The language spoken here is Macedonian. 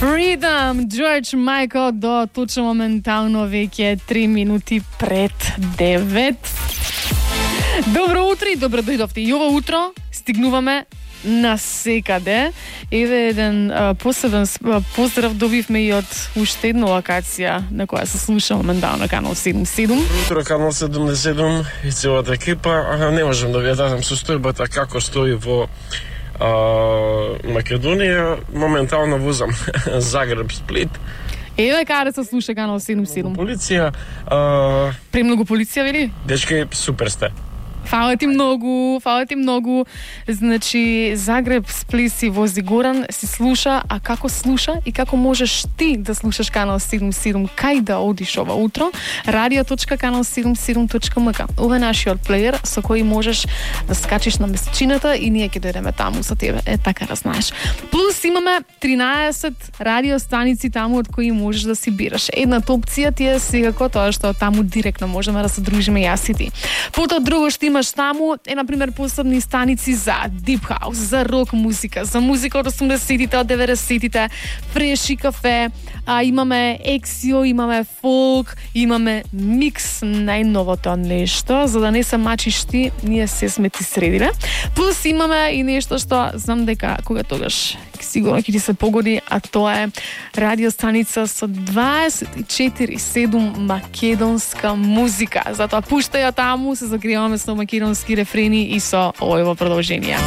Freedom, George Michael до точно моментално веќе 3 минути пред 9. Добро утро и добро дојдовте. И ова утро стигнуваме на секаде. Еве еден посебен поздрав добивме и од уште една локација на која се слуша моментално Канал 77. Утро Канал 77 и целата екипа. Не можам да ви дадам состојбата како стои во Македонија. Моментално возам Загреб, Сплит. Еве каде се слуша Канал 77. Полиција. Премногу полиција, вели? Дечки, супер сте. Фала ти многу. Значи, Загреб, Сплит си вози Горан, си слуша, а како слуша и како можеш ти да слушаш Канал 77, кај да одиш ова утро? radio.канал77.mk. Ова е нашиот плеер со кој можеш да скачиш на месечината и ние ќе дојдеме таму со тебе. Така да знаеш. Плюс имаме 13 радиостаници таму од кои можеш да си бираш. Едната опција ти е секако тоа што таму директно можеме да се дружиме јас и ти. Потоа друго што имаш таму е, например, посебни станици за Deep House, за рок музика, за музика од 80-тите, од 90-тите, Фреши кафе, имаме ексио, имаме фолк, имаме микс, најновото нешто, за да не се мачиш ти, ние се сме ти средиле. Плюс имаме и нешто што знам дека кога тогаш сигурно ќе ти се погоди, а тоа е радиостаница со 24/7 македонска музика. Затоа пуштај ја таму, се загреваме со македонски рефрени и со овој продолжение.